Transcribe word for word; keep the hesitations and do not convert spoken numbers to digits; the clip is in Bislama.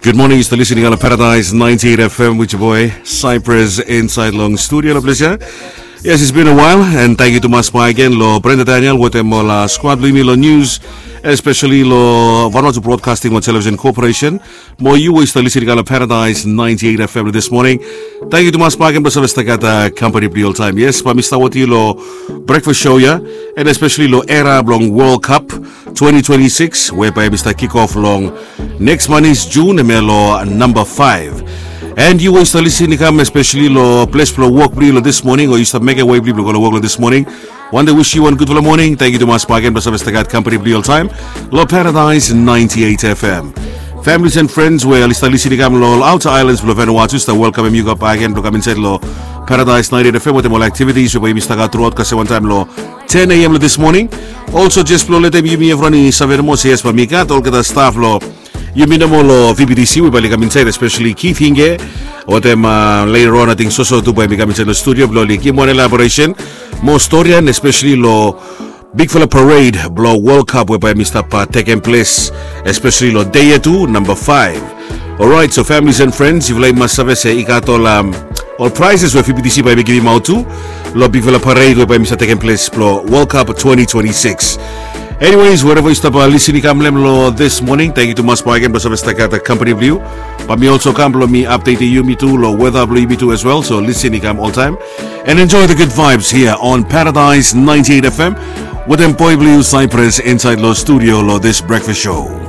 Good morning, yu stap listening long Paradise ninety-eight F M with your boy Cyprus inside long studio lo ples ya. Yes, it's been a while, and thank you tumas back again lo Brenda Daniel wetem ol squad blo yumi lo news, especially lo Vanuatu Broadcasting lo Television Corporation. Mo yu we yu stap listening long Paradise ninety-eight F M this morning. Thank you tumas back again blo save stap gat company blo yu oltaem. Yes, bae mi stap wetem yu lo breakfast show ya, and especially lo era blong World Cup twenty twenty-six we bae mi stap kick off long next month is June, em ya lo namba five. And yu we yu stap listening kam especially lo ples blo wok blo yu lo this morning, o yu stap mekem wei blo yu blo go lo wok lo this morning. Wante wish yu wan gudfala morning. Thank you tumas back again blo save stap gat company blo yu oltaem lo Paradise ninety-eight F M. Families and friends we oli stap listening kam lo ol outer islands blo Vanuatu, stap welcomem yu kam back again blo kam inside lo Paradise ninety-eight F M wetem ol activities we bae yumi stap gat throughout kasem wantaem lo ten A M lo this morning. Also, just blo letem yumi evriwan i save nomo se yes, bae mi gat olgeta staff lo yumi nomo lo V B T C we bae oli kam inside, especially Keith Hinge wetem, uh, later on, ating soso tu bae mi kam inside lo studio blo oli givim wan elaboration, mo storian, especially lo bigfala parade blo World Cup we bae mi stap, uh, tekem ples, especially lo dei ya tu, namba five. Alright, so families and friends, yufala i mas save se i gat ol, um, ol prizes we V B T C bae mi givimaot tu lo bigfala parade we bae mi stap tekem ples blo World Cup twenty twenty-six. Anyways, wherever yu stap, uh, listening kam lo em lo this morning, thank you tumas bae again blo save stap gat company blo yu. Bae mi also kam blo mi update yumi tu lo weather blo yumi tu as well. So listening kam oltaem and enjoy the good vibes here on Paradise ninety-eight F M wetem boy blo yu Cyprus inside lo studio lo this breakfast show.